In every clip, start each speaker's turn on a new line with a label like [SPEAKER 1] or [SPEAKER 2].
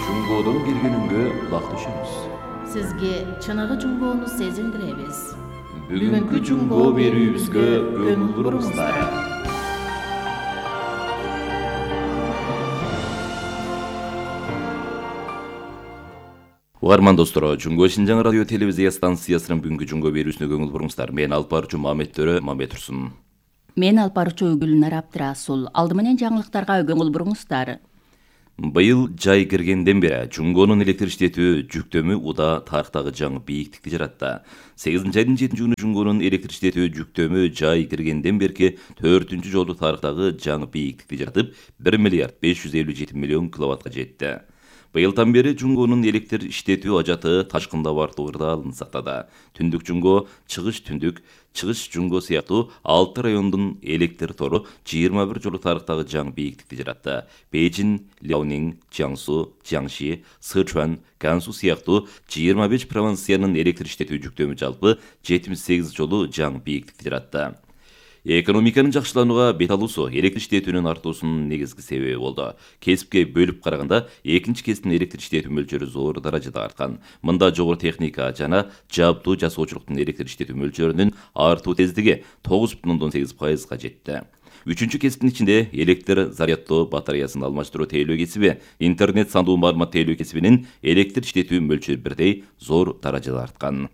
[SPEAKER 1] Жунгодон келгенүнгө кулак түшүңүз.
[SPEAKER 2] Сизге чыныгы жунгоону сезиндиребиз.
[SPEAKER 1] Бүгүнкү жунгоо берүүбүзгө көңүл буруңуздар. Угарман достор, Жунгоо Шинжаң радио телевизия станциясынын бүгүнкү жунгоо берүүсүнө көңүл буруңуздар. Мен алып баруучу Мамет Төрө Мамбетурсун.
[SPEAKER 3] Мен алып баруучу Гүлнар Абдрасул. Алды менен жаңылыктарга көңүл буруңуздар.
[SPEAKER 1] Быйыл жай киргенден бери Жунгоонун электр иштетүү жүктөмү уда тарыктагы жаңы бийиктикти жаратты. 8 айдын 7 күнү Жунгоонун электр иштетүү жүктөмү жай киргенден берки 4-үнчү жолу тарыктагы жаңы бийиктикти жаратып 1 миллиард 557 миллион киловаттка жетти. Быйылдан бери Жунгоонун электр иштетүү ажаты ташкындап артуу ырдаалын сактады. Түндүк Жунгоо, чыгыш түндүк, чыгыш Жунгоо сыяктуу 6 райондун электр тору 21 жолу тарыктагы жаңы бийиктикти жаратты. Бейжин, Ляонинг, Jiangsu, Jiangxi, Сычуан, Гансу сыяктуу 25 провинциянын электр иштетүү жүктөмү жалпы 78 жолу жаңы бийиктикти жаратты. Экономиканын жакшыланууга бет алуусу электр иштетүүнүн артуусунун негизги себеби болду. Кесипке бөлүп караганда экинчи кесиптин электр иштетүү мөлчөрү зор даражада арткан. Мында жогору техника жана жабдуу жасоочулуктун электр иштетүү мөлчөрүнүн артуу тездиги 9,8%га жетти. Үчүнчү кесиптин ичинде электр заряддоо батареясын алмаштыруу тейлөө кесиби, интернет сандуу маалымат тейлөө кесибинин электр иштетүү мөлчөрү бирдей зор даражада арткан.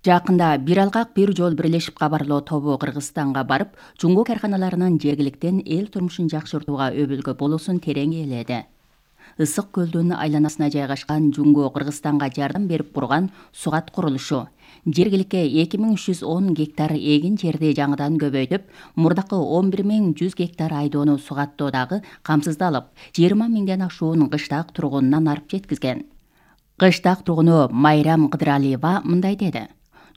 [SPEAKER 3] Жакында бир алгак бир жол бирлешип кабарлоо тобу Кыргызстанга барып, жунгоо карканаларынын жергиликтен эл турмушун жакшыртууга өбөлгө болуусун терең ээледи. Ысык көлдүн айланасына жайгашкан Жунгоо Кыргызстанга жардам берип курган сугат курулушу жергиликке 2310 гектар эгин жерди жаңыдан көбөйтүп, мурдакы 11100 гектар айдоону сугаттоодагы камсыздалып, 20 миңден ашуун кыштак тургунунан арып жеткизген. Кыштак тургуну Майрам Кыдыралиева мындай деди.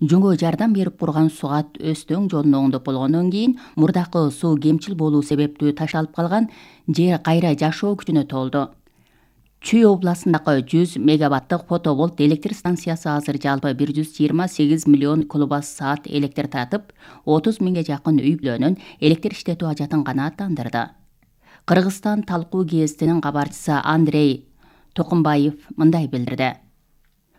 [SPEAKER 3] Жунгоо жардам берип курган сугат Өстөң жолун оңдоп болгондон кийин мурдакы суу кемчил болуу себептүү ташталып калган жер кайра жашоо күчүнө толду. Чүй областындагы 100 мегаваттык фотоволт электр станциясы азыр жалпы 128 миллион киловатт-саат электр таратып, 30 миңге жакын үй-бүлөнүн электр иштетүү ажатын канааттандырды. Кыргызстан талкуу гезитинин кабарчысы Андрей Токумбаев мындай билдирди.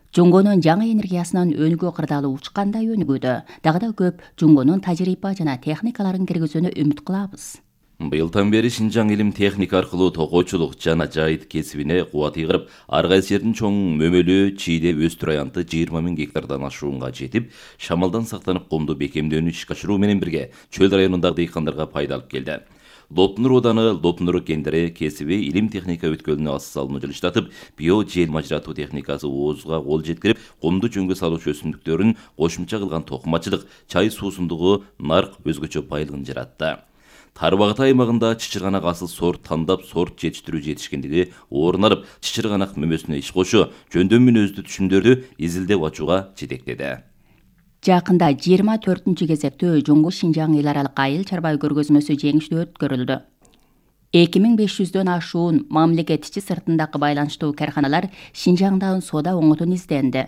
[SPEAKER 3] Жунгоонун жаңы энергиясынын өнүгүү кырдаалы учкандай өнүгүүдө. Дагы да көп Жунгоонун тажрыйба жана техникаларын киргизүүнү үмүт кылабыз.
[SPEAKER 1] Быйылдан бери Шинжаң илим техника аркылуу токоочулук жана жайыт кесибине кубат ыйгырып, ар кайсы жердин чоң мөмөлүү чийде өстүр аянты 20 миң гектардан ашуунга жетип, шамалдан сактанып комду бекемдөөнү ишке ашыруу менен бирге чөл районундагы дыйкандарга пайда алып келди. Лоптунур ооданы Лоптунур кендери кесиби илим техника өткөлүнө ас салымы жылыштатып, био жел мажыратуу техникасы оозуга кол жеткирип, комду жөнгө салуучу өсүмдүктөрүн кошумча кылган токумачылык, чай суусундугу, нарк өзгөчө байлыгын жаратты. Тарбагат аймагында чычырганак асыл сорт тандап сорт жетиштирүү жетишкендиги орун алып, чычырганак мөмөсүнө иш кошуу, жөндөм мүнөздүү түшүмдөрдү изилдеп ачууга жетектеди.
[SPEAKER 3] Жакында 24-үнчү кезектүү Жунгоо Шинжаң эл аралык айыл чарба көргөзмөсү жеңиштүү өткөрүлдү. 2500дөн ашуун мамлекет ичи сыртындагы байланыштуу карканалар Шинжаңда соода оңотун изденди.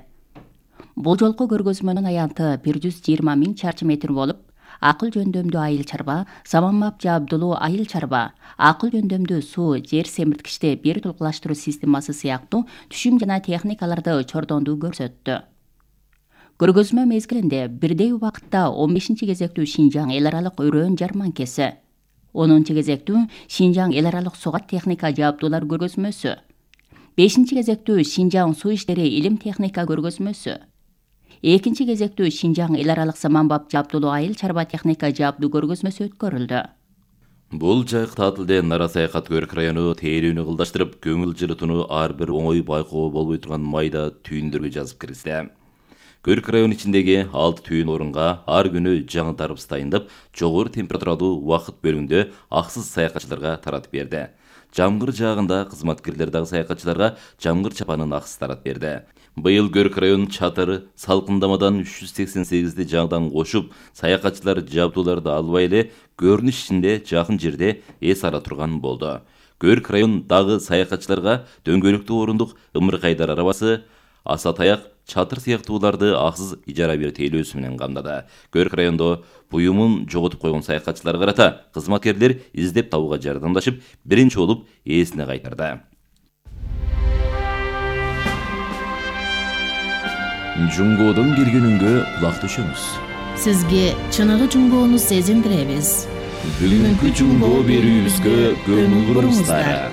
[SPEAKER 3] Бул жолку көргөзмөнүн аянты 120 миң чарчы метр болуп, акыл жөндөмдүү айыл чарба, саманбап жабдылуу айыл чарба, акыл жөндөмдүү суу, жер семирткичти бир тулкулаштыруу системасы сыяктуу түшүм жана техникаларды чордондуу көрсөттү. Көргөзмө мезгилинде бирдей убакытта 15-чи кезектүү Шинжаң эл аралык өрөөн жарманкеси, 10-чу кезектүү Шинжаң эл аралык сугат техника жабдуулар көргөзмөсү, 5-чи кезектүү Шинжаң суу иштери илим техника көргөзмөсү, 2-чи кезектүү Шинжаң эл аралык саманбап жабдуулуу айыл чарба техника жабдуу көргөзмөсү өткөрүлдү.
[SPEAKER 1] Бул жайык таатилде Нара саякат Көрк району тейлүүнү кылдаштырып, көңүл жылытууну ар бир оңой байкоого болбой турган майда түйүндөргө жазып киргизди. Көрк район ичиндеги 6 түйүн орунга ар күнү жаңы дарбыз дайындап, жогору температуралуу убакыт бөлүгүндө аксыз саякатчыларга таратып берди. Жамгыр жаагында кызматкерлер дагы саякатчыларга жамгыр чапанын аксыз таратып берди. Быйыл Көрк район чатыр салкындамадан 388ди жаңыдан кошуп, саякатчылар жабдууларды албай эле көрүнүш ичинде жакын жерде эс ала турган болду. Көрк район дагы саякатчыларга дөңгөлөктүү орундук ымыркайдар арабасы, аса таяк, чатыр сыяктууларды аксыз ижара берүү тейлөөсү менен камдады. Көрк райондо буюмун жоготуп койгон саякатчыларга карата кызматкерлер издеп табууга жардамдашып, биринчи болуп ээсине кайтарды. Жунгодон келгенүнгө кулак төшөңүз.
[SPEAKER 2] Сизге чыныгы жунгоону сезиндиребиз.
[SPEAKER 1] Бүгүнкү жунгоо берүүбүзгө көңүл буруңуздар.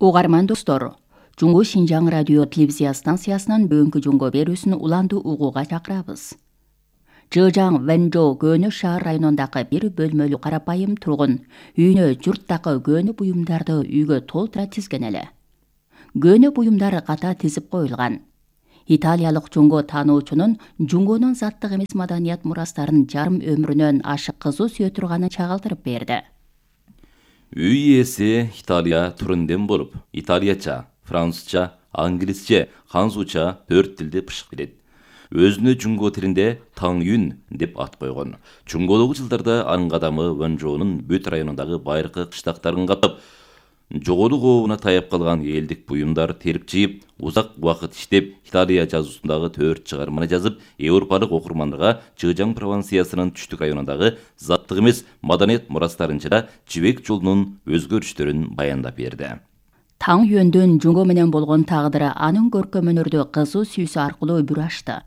[SPEAKER 3] Угарман достор, Жунгу Шинжаң радио телевизия станциясынан бүгүнкү жунгоо берүүсүн уланды угууга чакырабыз. Жыжаң Вэнжоу Көнө шаар районундагы бир бөлмөлүү карапайым тургун үйүнө журттагы көнө буюмдарды үйгө толтура тизген эле. Көнө буюмдар ката тизип коюлган. Италиялык жунгоо таануучунун жунгонун заттык эмес маданият мурастарын жарым өмүрүнөн ашык кызуу сүйө турганын чагылдырып берди.
[SPEAKER 1] Үй ээси Италия түрүндөн болуп, италияча, французча, англисче, ханзуча 4 тилди бышык билет. Өзүнө жунгоо тилинде Таң Юн деп ат койгон. Жунгодогу жылдарда анын кадамы Вэнжоунун бүт районундагы байыркы кыштактарын каптап, жогору кообуна таяп калган элдик буюмдар терип жыйып, узак убакыт иштеп, Италия жазуусундагы 4 чыгарманы жазып, европалык окурмандарга Жыжаң провинциясынын түштүк районундагы заттык эмес маданият мурастарын жана жибек жолунун өзгөрүштөрүн баяндап берди.
[SPEAKER 3] Таң Юндүн жунгоо менен болгон тагдыры анын көркөм өнөрдө кызуу сүйүүсү аркылуу бүр ачты.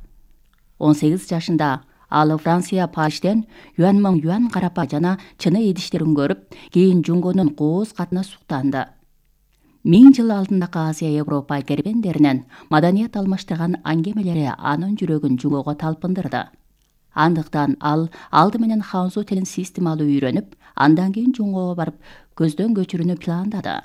[SPEAKER 3] 18 жашында ал Франция Парижден юан юан карапа жана чыны идиштерин көрүп, кийин жунгонун кооз катына суктанды. 1000 жыл алдындагы Азия Европа кербендеринен маданият алмаштырган аңгемелери анын жүрөгүн жунгоого талпындырды. Андыктан ал алды менен ханзу тилин системалуу үйрөнүп, андан кийин жунгоого барып көздөн көчүрүүнү пландады.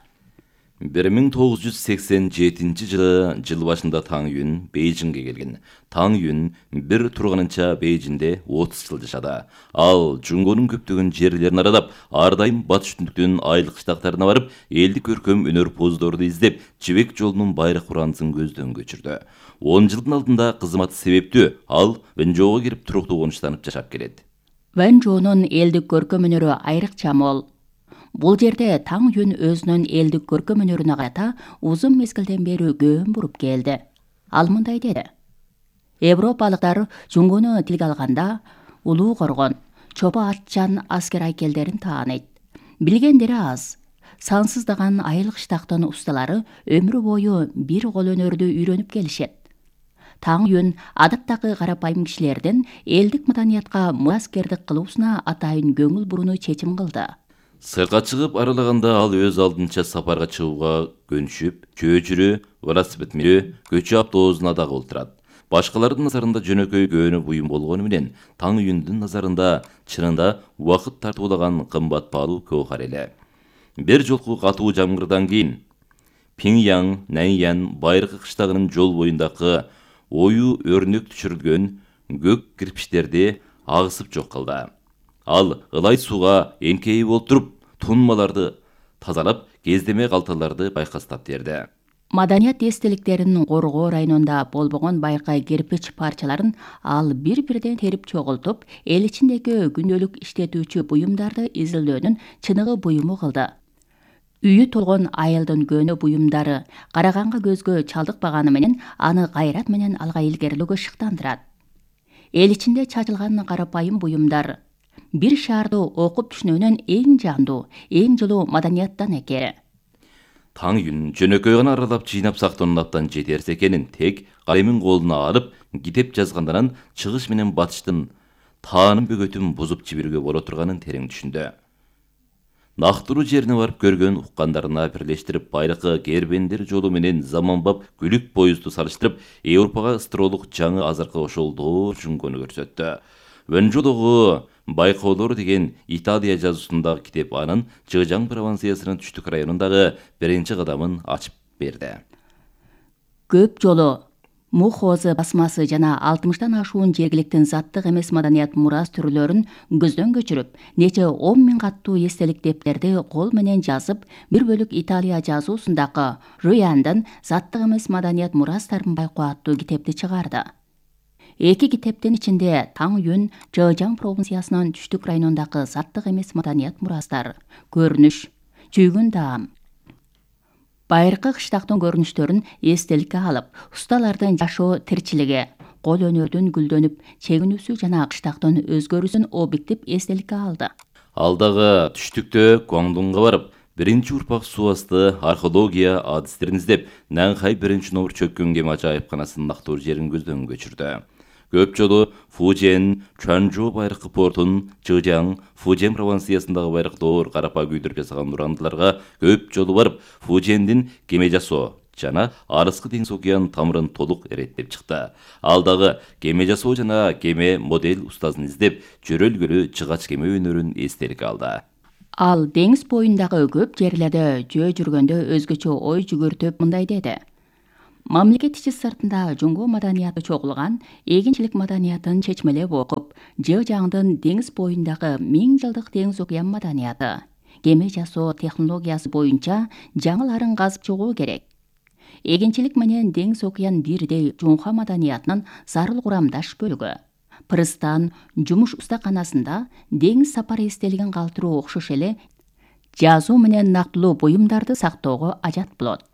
[SPEAKER 1] 1987 жылы жыл башында Таң Юн Бейжиңге келген. Таң Юн бир турганынча Бейжиңде 30 жыл жашады. Ал жунгонун көптөгөн жерлерин аралап, ар дайым батыш түндүктүн айыл кыштактарына барып, элдик көркөм өнөр поздорду издеп, жибек жолунун байрак уранысын көздөн көчүрдү. 10 жылдын алдында кызматы себептүү ал Вэнжоуга кирип туруктуу конуштанып жашап келет.
[SPEAKER 3] Вэнжоунун элдик көркөм өнөрү айрыкча мол. Бул жерде Таң Юн өзүнүн элдик көркөм өнөрүнө карата узун мезгилден бери көөн буруп келди. Ал мындай деди: Европалыктар жунгону тилге алганда улуу коргон, чобо атчан аскер айкелдерин тааныйт. Билгендери аз. Сансыздаган айыл кыштактын усталары өмүр бою бир кол өнөрдү үйрөнүп келишет. Таң Юн адаттагы карапайым кишилердин элдик маданиятка мураскердик кылуусуна атайын көңүл бурууну чечим кылды.
[SPEAKER 1] Сыртка чыгып аралаганда ал өз алдынча сапарга чыгууга көнүшүп, чөөчүрө, велосипед минөө, көчү автобусуна дагы отурат. Башкалардын назарында жөнөкөй көнө буюм болгону менен, Таң Юндун назарында чынында убакыт тартуулаган кымбат баалуу көөхар эле. Бир жолку катуу жамгырдан кийин Пиңяң, Наньян байыркы кыштагынын жол боюндагы ою өрнөк түшүрүлгөн көк кирпичтерди агысып жок кылды. Ал ылай сууга эңкейип олтуруп, тунмаларды тазалап, кездеме калталарды байкастап берди.
[SPEAKER 3] Маданият эстеликтерин коргоо районунда болбогон байыркы кирпич парчаларын ал бир-бирден терип чогултуп, эл ичиндеги күндөлүк иштетүүчү буюмдарды изилдөөнүн чыныгы буюму кылды. Үйү толгон айылдын көнө буюмдары караганга көзгө чалдыкпаганы менен аны кайрат менен алга илгерилөөгө шыктандырат. Эл ичинде чачылган карапайым буюмдар бир шаарды окуп түшүнүүнүн эң жандуу, эң жылуу маданияттан экени.
[SPEAKER 1] Таң Юн жөнөкөй гана аралап жыйнап сактоонун абдан жетерсиз экенин тек калемин колуна алып, китеп жазгандан чыгыш менен батыштын таанын бөгөтүн бузуп жиберүүгө боло турганын терең түшүндү. Нактыруу жерине барып көргөн уккандарына бирлештирип, байыркы кербендер жолу менен заманбап күлүк поезду салыштырып, Европага ысырылык жаңы азыркы ошолдоо жунгону көрсөттү. Вэнжоудогу байкоолор деген Италия жазуусундагы китеп анын Жыжаң провинциясынын түштүк районундагы биринчи кадамын ачып берди.
[SPEAKER 3] Көп жолу Мухозы басмасы жана 60тан ашуун жергиликтин заттык эмес маданият мурас түрлөрүн көздөн көчүрүп, нече 10.000 каттуу эстелик дептерди кол менен жазып, бир бөлүк Италия жазуусундагы Руяндын заттык эмес маданият мурастарын байкоо аттуу китепти чыгарды. Эки китептин ичинде Таң Юн Жыжаң провинциясынын түштүк районундагы заттык эмес маданият мурастар, көрүнүш, чүйгүн даам, байыркы кыштактын көрүнүштөрүн эстеликке алып, усталардын жашоо тирчилиги, кол өнөрдүн гүлдөнүп чегинүүсү жана кыштактын өзгөрүүсүн объектив эстеликке алды.
[SPEAKER 1] Ал дагы түштүктө Гуандунга барып, Биринчи урпак суу асты археология адистерин издеп, Нанхай биринчи номер чөккөн кеме ажайыпканасын нактуу жерин көздөн көчүрдү. Көп жолу Фужен, Чуанчжоу байыркы портун, Чжэжяң, Фужен провинциясындагы байырктоор карапа күйдүрүп жасаган урандыларга көп жолу барып, Фужендин кеме жасоо жана Арыскы деңиз океан тамырын толук эреттеп чыкты. Ал дагы кеме жасоо жана кеме модель устазын издеп, жөрөлгөлүү чыгач кеме өнөрүн эстеликке алды.
[SPEAKER 3] Ал деңиз боюндагы көп жерлерде жөө жүргөндө өзгөчө ой жүгүртүп мындай деди. Мамлекет ичи сыртында жунго маданияты чогулган, эгинчилик маданиятын чечмелеп окуп, Чжэжяңдын деңиз боюндагы 1000 жылдык деңиз океан маданияты, кеме жасоо технологиясы боюнча жаңыларын казып чыгуу керек. Эгинчилик менен деңиз океан бирдей жунха маданиятынын зарыл курамдаш бөлүгү. Пристан, жумуш устаканасында деңиз сапары эстелигин калтыруу окшош эле жазуу менен нактылуу буюмдарды сактоого ажат болот.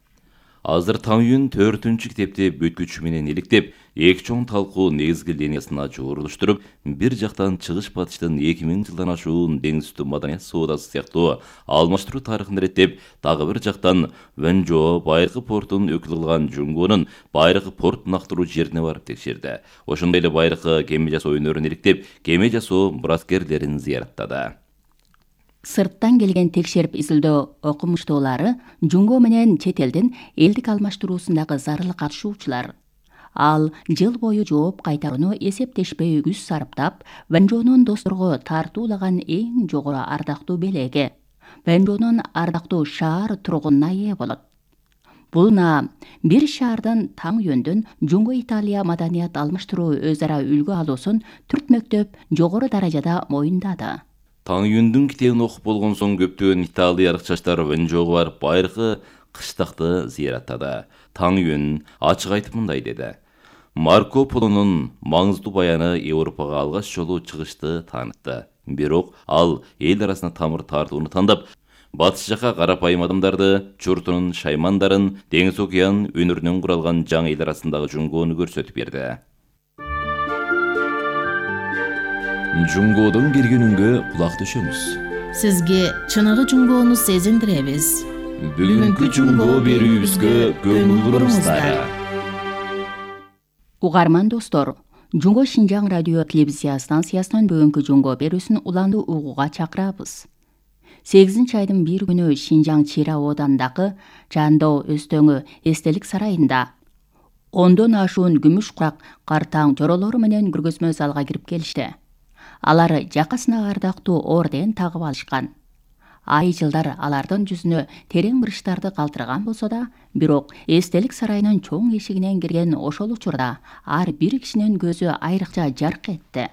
[SPEAKER 1] Азыр Таңюн 4-чү китепти бүткүчү менен иликтеп, эки чоң талкуу негизги линиясына жуурулуштуруп, бир жактан чыгыш батыштын 2000 жылдан ашуун деңиз үстү маданият соодасы сыяктуу алмаштыруу тарыхын иреттеп, дагы бир жактан Вэнжжоу байыркы портун өкүл кылган Жунгонун байыркы порт нактыруу жерине барып текшерди. Ошондой эле байыркы кеме жасоо өнөрүн иликтеп, кеме жасоо мураскерлерин зыяраттады.
[SPEAKER 3] Сырттан келген текшерип изилдөө окумуштуулары Жунго менен чет элдин элдик алмаштыруусундагы зарыл катышуучулар. Ал жыл бою жооп кайтарууну эсептешпей күз сарптап, Вэнжжоунун досторго тартуулаган эң жогору ардактуу белеги, Вэнжжоунун ардактуу шаар тургунуна ээ болот. Бул наам бир шаардын таң йөндөн Жунго Италия маданият алмаштыруу өз ара үлгү алуусун түрт мөктөп жогору даражада моюндады.
[SPEAKER 1] Таңюндун китебин окуп болгон соң көптөгөн италиялык чачтар Вэнжжоуга барып байыркы кыштакты зыяраттады. Таңюн ачык айтып мындай деди. Марко Полонун маңыздуу баяны Европага алгач жолу чыгышты таанытты. Бирок ал эл арасына тамыр тартууну тандап, батыш жака карапайым адамдарды, чуртунун шаймандарын, деңиз океан өнөрүнөн куралган жаңы эл арасындагы Жунгону көрсөтүп берди. Жунгодон келгенүнгө кулак түшөмүз.
[SPEAKER 2] Сизге чыныгы Жунгону сезиндиребиз.
[SPEAKER 1] Бүгүнкү Жунго берүүбүзгө көңүл буруңуздар.
[SPEAKER 3] Угарман достор, Жунго Шинжаң радио телевизия станциясынан бүгүнкү Жунго берүүсүн уланды угууга чакырабыз. 8-айдын 1 күнү Шинжаң Чира оодандагы Жандоо Өстөңү эстелик сарайында 10дон ашуун күмүш курак картаң жоролору менен көргөзмө залга кирип келишти. Алар жакасына ардактуу орден тагып алышкан. Ай жылдар алардын жүзүнө терең мырыштарды калтырган болсо да, бирок эстелик сарайынын чоң эшигинен кирген ошол учурда ар бир кишинин көзү айрыкча жарк этти.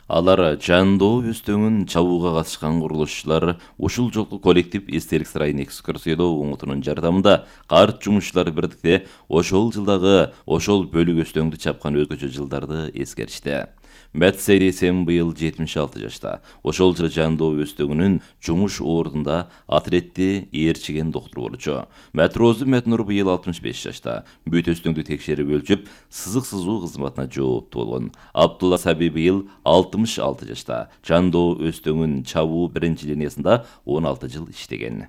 [SPEAKER 1] Алар Жандоо Өстөңүн чабууга катышкан курулушчулар ушул жолку коллектив эстелик сарайын экскурсиялоо уңутунун жардамында карт жумушчулар бирдикте ошол жылдагы ошол бөлүк Өстөңдү чапкан өзгөчө жылдарды эскеришти. Мэтсери Сем быйыл 76 жашта. Ошол жылы Жандоо Өстөңүнүн жумуш ордунда атретти ээрчиген доктор болчу. Мэтрозу Метнур быйыл 65 жашта. Бүт Өстөңдү текшерип өлчүп, сызык сызуу кызматына жооптуу болгон. Абдулла Саби быйыл 66 жашта. Жандоо Өстөңүн чабуу биринчи линиясында 16 жыл иштеген.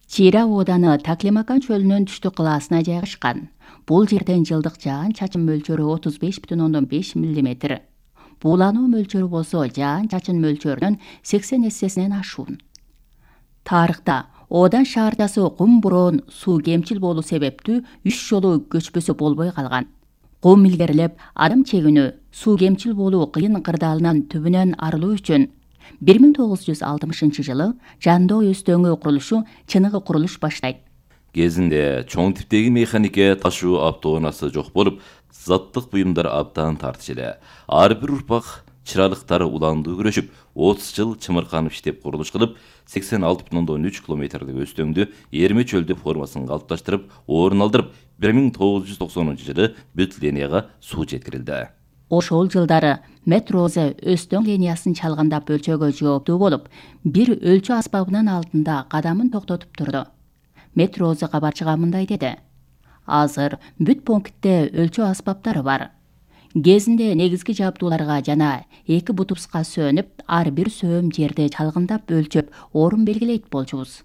[SPEAKER 3] Чира ооданы Таклимакан чөлүнүн түштүк кылаасына жайгашкан. Бул жерден жылдык жаан чачын мөлчөрү 35,5 мм. Буулануу мөлчөрү болсо жаан чачын мөлчөрүнүн 80 эссесинен ашуун. Тарыхта оодан шаардасы кум бороон суу кемчил болуу себептүү 3 жолу көчпөсө болбой калган. Кум илгерилеп, адам чегүүнү, суу кемчил болуу кыйын кырдаалынан түбүнөн арылуу үчүн 1960 жылы Жандоо Өстөңү курулушу чыныгы курулуш баштайт.
[SPEAKER 1] Кезинде чоң типтеги механике ташуу автоунасы жок болуп, заттык буюмдар абдан тартыш эле. Ар бир урпак чыралыктар уландуу күрөшүп, 30 жыл чымырканып иштеп курулуш кылып, 86,3 километрлик Өстөңдү эрме чөлдө формасын калыпташтырып, орун алдырып, 1990 жылы бүт линияга суу жеткирилди.
[SPEAKER 3] Ошол жылдары Метрозе Өстөң линиясын чалгандап өлчөөгө жооптуу болуп, бир өлчө аспабынын алдында кадамын токтотуп турду. Метрозе кабарчыга мындай деди. Азыр бүт пунктте өлчө аспаптары бар. Кезинде негизги жабдууларга жана 2 бутубуска сөөнүп, ар бир сөөм жерде чалгындап өлчөп, орун белгилейт болчубуз.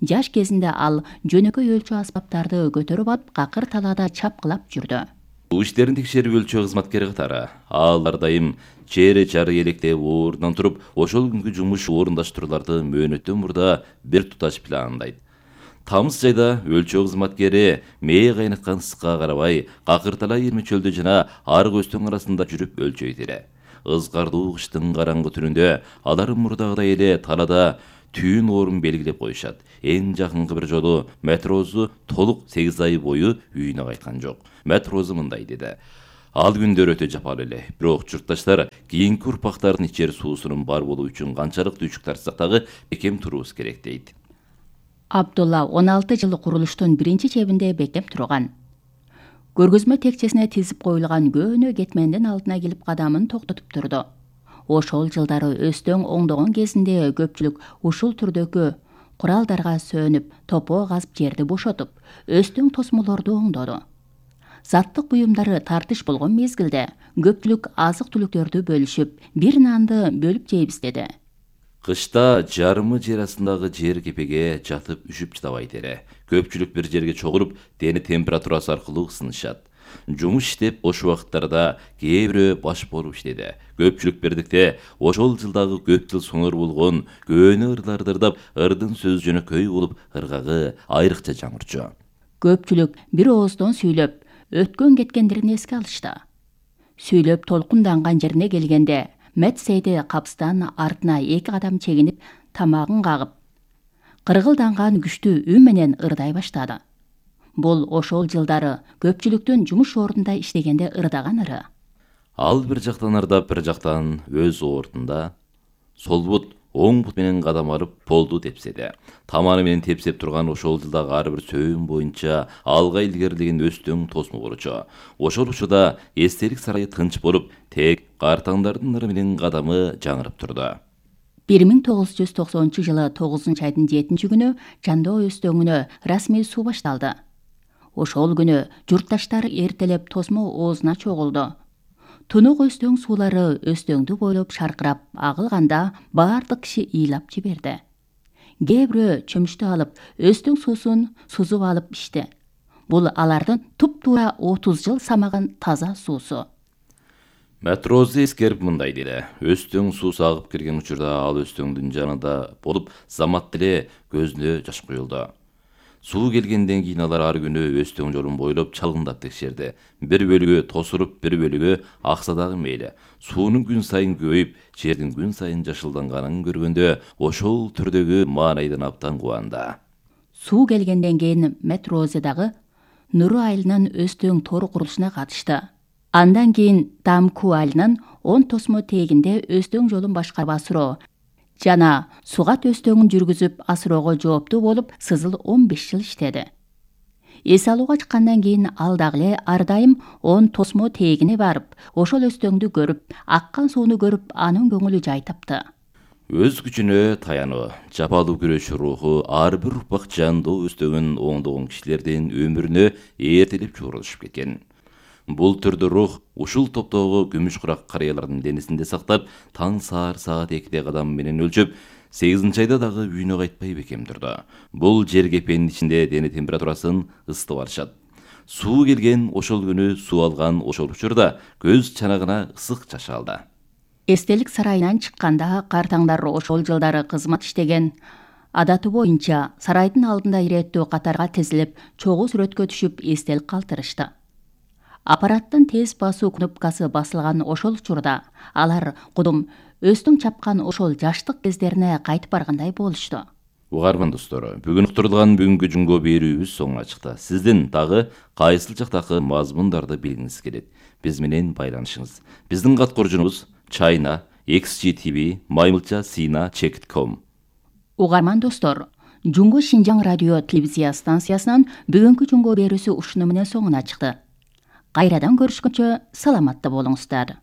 [SPEAKER 3] Жаш кезинде ал жөнөкөй өлчү аспаптарды көтөрүп алып какыр талаада чапкылап жүрдү.
[SPEAKER 1] Бул иштерин текшерип өлчөө кызматкери катары ал ар дайым чере чары электеп ордунан туруп, ошол күнгү жумуш орундаштырууларды мөөнөттөн мурда бир туташ пландайт. Тамыз айда өлчөө кызматкери мээ кайнаткан ысыкка карабай, какыртала ирме чөлдө жана арык өстөң арасында жүрүп өлчөйт эле. Ызгардуу кыштын караңгы түнүндө алар мурдагыдай эле талаада түйүн орун белгилеп коюшат. Эң жакынкы бир жолу матрозу толук 8 ай бою үйүнө кайткан жок. Матрозу мындай деди: ал күндөр өтө жапалуу эле. Бирок журтташтар кийинки урпактардын ичер суусунун бар болуу үчүн канчалык түйчүк тартсак дагы бекем туруубуз керек дейт.
[SPEAKER 3] Абдулла 16 жыл курулуштун биринчи чебинде бекем турган. Көргөзмө текчесине тизип коюлган көөнө кетмендин алдына келип кадамын токтотуп турду. Ошол жылдары өстөң оңдогон кезинде көпчүлүк ушул түрдөгү куралдарга сөнүп, топоо казып жерди бошотуп, өстөң тосмолорду оңдоду. Заттык буюмдары тартыш болгон мезгилде көпчүлүк азык-түлүктөрдү бөлүшүп, бир нанды бөлүп жейбиз деди.
[SPEAKER 1] Кышта жарымы жер астындагы жер кепеге жатып үшүп чыдабайт эле. Көпчүлүк бир жерге чогулуп, дене температурасы аркылуу ысынышат. Жумуш иштеп бош убакыттарда кээ бирөө баш болуп иштеди. Көпчүлүк бирдикте ошол жылдагы көп жыл соңор болгон көөнө ырларды ырдап, ырдын сөзү жөнөкөй болуп, ыргагы айрыкча жаңырчу.
[SPEAKER 3] Көпчүлүк бир ооздон сүйлөп, өткөн кеткендерин эске алышты. Сүйлөп толкунданган жерине келгенде Мэт Сейди капстан артына 2 кадам чегинип, тамагын кагып, кыргылданган күчтүү үн менен ырдай баштады. Бул ошол жылдары көпчүлүктүн жумуш ордунда иштегенде ырдаган ыры.
[SPEAKER 1] Ал бир жактан ырдап, бир жактан өз ордунда сол бут, оң бут менен кадам алып полду тепседи. Таманы менен тепсеп турган ошол жылдагы ар бир сөйүм боюнча алга илгерилеген өстөң тосмо болчу. Ошол учурда эстелик сарайы тынч болуп, тек картаңдардын ыры менен кадамы жаңырып турду.
[SPEAKER 3] 1990 жылы 9 айдын 7 күнү Жандоо өстөңүнө расмий суу башталды. Ошол күнү журтташтар эртелеп тосмо оозуна чогулду. Тунук өстөң суулары өстөңдү бойлоп шаркырап агылганда баардык киши ыйлап жиберди. Кээ бирөө чөмүчтү алып, өстөң суусун сузуп алып ичти. Бул алардын туп-туура 30 жыл самаган таза суусу.
[SPEAKER 1] Матрозу эскерип мындай деди: өстөң суу агып кирген учурда ал өстөңдүн жанында болуп, замат деле көзүнө жаш куюлду. Суу келгенден кийин алар ар күнү өстөң жолун бойлоп чалгындап текшерди. Бир бөлүгү тосуруп, бир бөлүгү акса дагы мейли. Суунун күн сайын көбөйүп, жердин күн сайын жашылданганын көргөндө ошол түрдөгү маанайдан абдан кубанды.
[SPEAKER 3] Суу келгенден кийин Матрозу дагы Нуру айылынын өстөң тору курулушуна катышты. Андан кийин Дамку айылынын 10 тосмо тегинде өстөң жолун башкарып асыроо жана Сугат өстөңүн жүргүзүп асыроого жооптуу болуп, Сызыл 15 жыл иштеди. Эс алууга чыккандан кийин ал дагы эле ар дайым 10 тосмо тегине барып, ошол өстөңдү көрүп, аккан сууну көрүп, анын көңүлү жай тапты.
[SPEAKER 1] Өз күчүнө таянуу, жапалуу күрөш руху ар бир урпак Жандоо өстөңүн оңдогон кишилердин өмүрүнө эртелеп чогулушуп кеткен. Бул түрдүү рух ушул топтогу күмүш курак карыялардын денесинде сактап, таң саар саат 2-де кадам менен өлчөп, 8 айда дагы үйүнө кайтпай бекем турду. Бул жер кепенин ичинде дене температурасын ысытып алышат. Суу келген ошол күнү суу алган ошол учурда көз чанагына ысык чачалды.
[SPEAKER 3] Эстелик сарайынан чыкканда картаңдар ошол жылдары кызмат иштеген адаты боюнча сарайдын алдында иреттүү катарга тизилип, чогуу сүрөткө түшүп эстелик калтырышты. Аппараттын тез басуу кнопкасы басылган ошол учурда алар кудум өстөң чапкан ошол жаштык кездерине кайтып баргандай болушту.
[SPEAKER 1] Угарман достор, бүгүн уктурулган бүгүнкү жунго берүүбүз соңуна чыкты. Сиздин дагы кайсыл жактагы мазмундарды билгиңиз келет? Биз менен байланышыңыз. Биздин каткоржунубуз China XGTV @sina.com.
[SPEAKER 3] Угарман достор, Жунго Шинжаң радио телевизия станциясынан бүгүнкү жунго берүүсү ушуну менен соңуна чыкты. Кайрадан көрүшкөнчө саламатта болуңуздар.